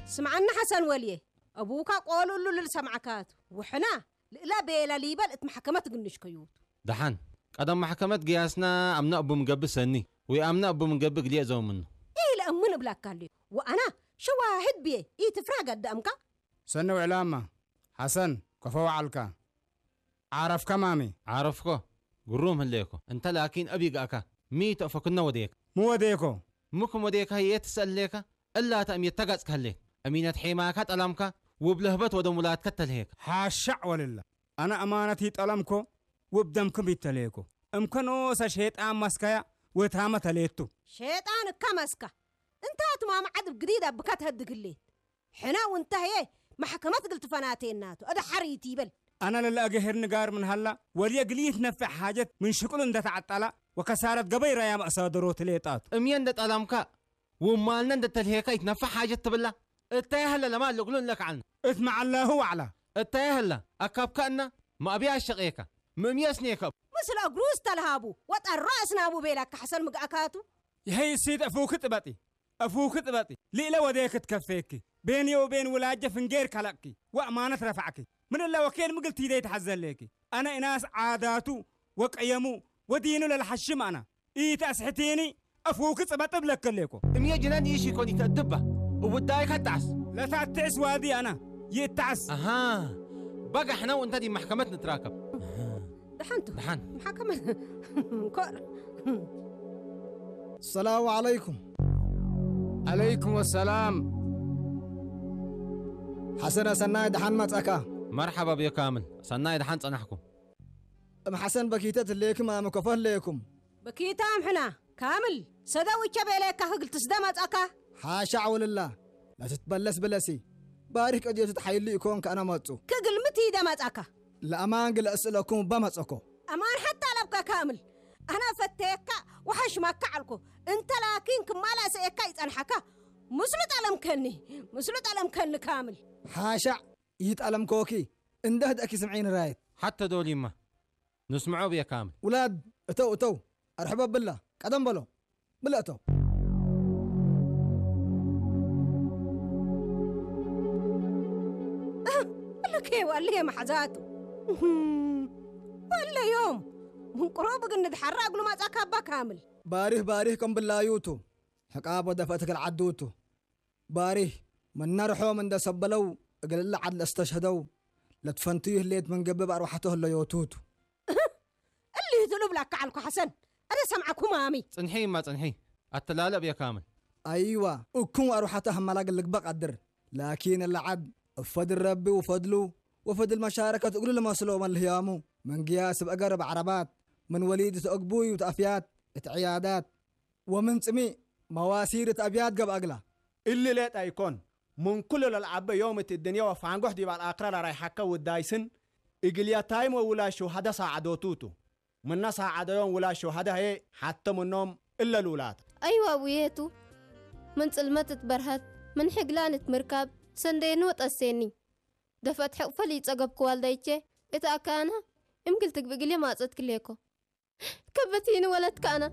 ስምዓና ሓሰን ወልየ፣ ኣቡካ ቆልሉ ልልሰምዓካት ውሕና ልእላ ቤላ ሊበል እት ማሕከመት ግንሽ ከዩቱ። ደሓን፣ ቀደም ማሕከመት ግያስና ኣምና እቡ ምገብእ ሰኒ፣ ወይ ኣምና እቡ ምገብእ ግልየ ዘውምኑ። ኢለ እሙን እብላካ ኣልዩ። ወኣና ሸዋሂድ ብየ ኢትፍራ ገዳምካ። ሰኒ ውዕላማ፣ ሓሰን፣ ከፈ ወዓልካ። ዓረፍካ ማሚ። ዓረፍኮ፣ ግሩም ህሌኮ። እንተ ላኪን ኣብ ይግኣካ፣ ሚ ተእፈክኖ ወዴካ። ምወዴኮ። ምኩም ወዴካ የትሰሌካ፣ እላ ተእም የተጋጽካ ህሌክ። እሚነት ሔማካ ጠላምካ፣ ውብ ለህበት ወደ ሙላትከ ተልሄካ። ሓሻዕ ወልላ። ኣነ ኣማነት ይጠለምኮ፣ ውብ ደምኩም ይተልሄኮ። እምከኖሰ ሼጣን መስካያ፣ ወታመ ተሌቱ። ሼጣን እካ መስካ። እንታ ትማም ዓድብ ግዲድ ኣብካ ተህድግ ህሌት። ሕና ውንታ ህየ ማሕከመት ግልትፈናቴናቱ፣ ኣደ ሓሪት ይበል። ኣነ ለለአገሄር ንጋር ምን ሃላ፣ ወልየ ግልይት ነፍዕ ሓጀት ምን ሽቅሉ እንደ ተዓጣላ፣ ወከሳረት ገበይ ራያ መእሳደሮ ትሌጣቱ። እምየ እንደ ጠላምካ፣ ውማልነ እንደ ተልሄካ ይትነፍዕ ሓጀት ትብላ። እታ ያህለ ለማ ልግሉ እንለክዓልና። እት መዓላሁ ዋዕላ። እታ ያህለ፣ ኣካብካ እና፣ ማእብያ ኣሸቄካ። ምእምየ ስኔከብ። ምስለ እግሩ ዝተልሃቡ፣ ወጠሮ ኣስናቡ ቤላካ ሓሰን ምግኣካቱ። ይሀይ እሲት ኣፉክ ጥበጢ፣ ኣፉክ ጥበጢ። ሊእለ ወዴ ክትከፌኪ። ቤንዮ ቤን ውላጀ ፍንጌር ከለቅኪ። ወእማነት ረፋዕኪ። ምን እለ ወኬል ምግል ቲደይ ተሓዘሌኪ። ኣነ እናስ ዓዳቱ ወቀየሙ ወዲኑ ለልሓሽም ኣና። ኢት ኣስሕቲኒ ኣፉክ ጽበጥ እብለከሌኮ። እምየ ጅነን ኢሽ ይኮን ይተድባ። እውዳይካ ጣዕስ። ለታትዕስ ዋዲ ኣና። ይጣዕስ። ኣሃ። በጋ ሕነው እንተ ዲ ማሕከመት ንትራከብ። ደሓንቱ። ደሓን። ማሕከመት። ኮር። ሰላሙ ዓለይኩም። ዓለይኩም ወሰላም። ሓሰነ ሰናይ ደሓን መጻካ። መርሓባ ብዮ ካምል። ሰናይ ደሓን ጸናሕኩም። እም ሓሰን በኪተ ትሌክም ኣመ ኮፈ ህሌኩም። በኪታ ኣምሕና። ካምል። ሰደው እቸ ቤሌካ ክግል ትስደ መጻካ። ሓሻዕ ውልላ። ለትትበለስ ብለሲ። ባሪክ ቀድዮቱ ተሓይሉ ይኮን ከኣና መጹ። ክግል ምት ይደ መጻካ። ለኣማን ግለ እስእለኩም በመጸኮ። ኣማን ሓታ ለብካ ካምል። ኣና ፈተየካ ወሓሽማካ ዓልኮ። እንተ ላኪን ክማላ ሰኤካ ይጸንሓካ። ምስሉ ጠለምከኒ። ምስሉ ጠለምከኒ ካምል። ሓሻዕ ይጠለምኮኪ። እንደ ህደእኪ ስምዒኒ ራየት። ሓተ ዶሊማ። ንስምዖ ብየ ካምል። ውላድ እተው እተው። ኣርሕቦ ብላ። ቀደም በሎ። ብላ እተው። እህ፣ እልከ ዋልየ ማሕዛቱ። እህም፣ ወለዮም። ምንቅሮ ብግንድ ሓራ እግሉ ማጻካ ኣባ ካምል። ባሪህ ባሪህ ከም ብላዩቱ። ሕቃብ ወደፈት ክልዓዱቱ። ባሪህ መናርሖም እንደ ሰበለው እግል እለ ዓድ ለስተሽህደው ለትፈንቱ ይህሌት ምን ገብብ ኣርዋሕቶ ህለዮቱቱ። እሊ ትሉ ብላካ ዓልኩ ሓሰን። ኣደ ሰምዓኩም ኣሚ። ጽንሒ እማ ጽንሒ። ኣተላለብ እየ ካምል። ኣይዋ፣ እኩም ኣርዋሕቶ ሃማላግ ልግበ ቀድር። ላኪን እለ ዓድ እፈድል ረቢ ውፈድሉ ወፈድል መሻረከት እግሉ ልመስሎ መልህያሙ። ምን ግያስ ብእገር ብዓረባት፣ ምን ወሊድ ተእግቡይ ውተእፍያት፣ እት ዕያዳት፣ ወምን ጽሚእ መዋሲር እት ኣብያት ገብአ እግላ። እሊ ሌጣ ይኮን፣ ምን ኩሉ ለልዓበ ዮም እት እድንየ ወፋንጎሕ ዲብ አልአክረ ለራይሐከ ውዳይስን፣ እግልየታይም ወውላድ ሸውሀደ ሳዓዶቱ ቱ። ምነ ሳዓደዮም ውላድ ሸውሀደ ሀዬ ሐተ ምኖም እለ ልውላድ። አይዋ አቡዬ ቱ፣ ምን ጽልመት እት በርሀት፣ ምን ሕግላን እት ምርካብ፣ ሰንደየኒ ወጠሴኒ። ደፈት ሕቅፈ ልይጸገብኩ ዋልዳይቼ፣ እት አካና፣ እምግል ትግብ እግልየ ማጸት ክሌኮ። ከበቲኒ ወለትካና።